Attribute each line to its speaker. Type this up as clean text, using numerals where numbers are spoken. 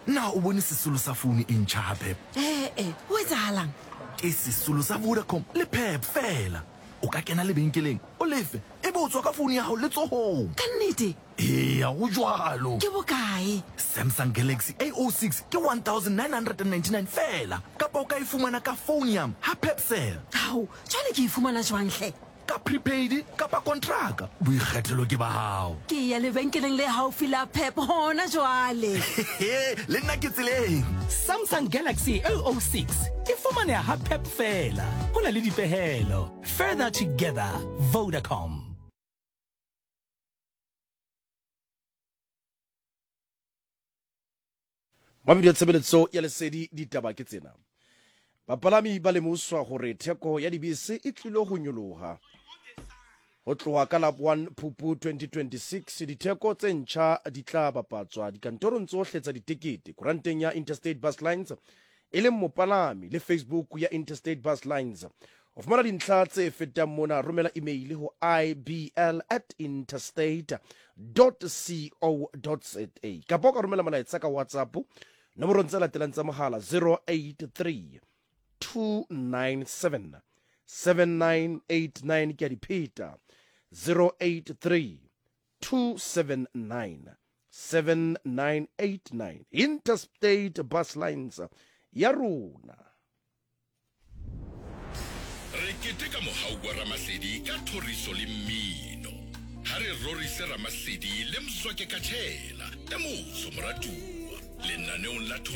Speaker 1: Na o bone sesolo sa founu e ntšha ha Pep?
Speaker 2: Ee, go etsahalang?
Speaker 1: Ke sesolo sa Vodacom le Pep fela. O ka kena lebenkeleng, o lefe, e be o tswa ka founu ya gago letsogong.
Speaker 2: Ka nnete?
Speaker 1: Eya, go jwalo.
Speaker 2: Ke bokae?
Speaker 1: Samsung Galaxy A06 ke 1999 fela, kapa o ka e fumana ka Founium ha Pepcell.
Speaker 2: Ao, jwale ke e fumana jwang hle?
Speaker 1: Ka prepaid kapa kontraka, boikgethelo ke ba hao.
Speaker 2: Ke ya lebenkeleng le haufi la Pep hona jwale.
Speaker 1: Le nna ke tseleng.
Speaker 3: Samsung Galaxy A06 e fumaneha ha Pep feela. Ho na le dipehelo. Further together. Vodacom.
Speaker 4: Mabidi ya tshebeletso ya lesedi ditaba ke tsena. Bapalami ba lemoswa gore theko ya dibese e tlilo go nyologa. Go tloga ka la 1 Phupu 2026, ditheko tse ntšha di tla bapatswa dikantorong tsohle tsa ditekete, kuranteng ya Interstate Bus Lines e leng mopalami le Facebook ya Interstate Bus Lines. Ho fumana dintlha tse fetang mona, romela email ho ibl at interstate co za kapa o ka romela molaetsa ka WhatsApp nomorong tse latelang tsa mohala 083 297 7989 ke a di pheta 083 279 7989 Interstate Bus Lines ya rona.
Speaker 5: Re keteka mohau wa Ramasedi ka thoriso le mmino. Ha re rorise Ramasedi le Mzwake Katshela, e motsho moratuwa, lenaneong la thoriso.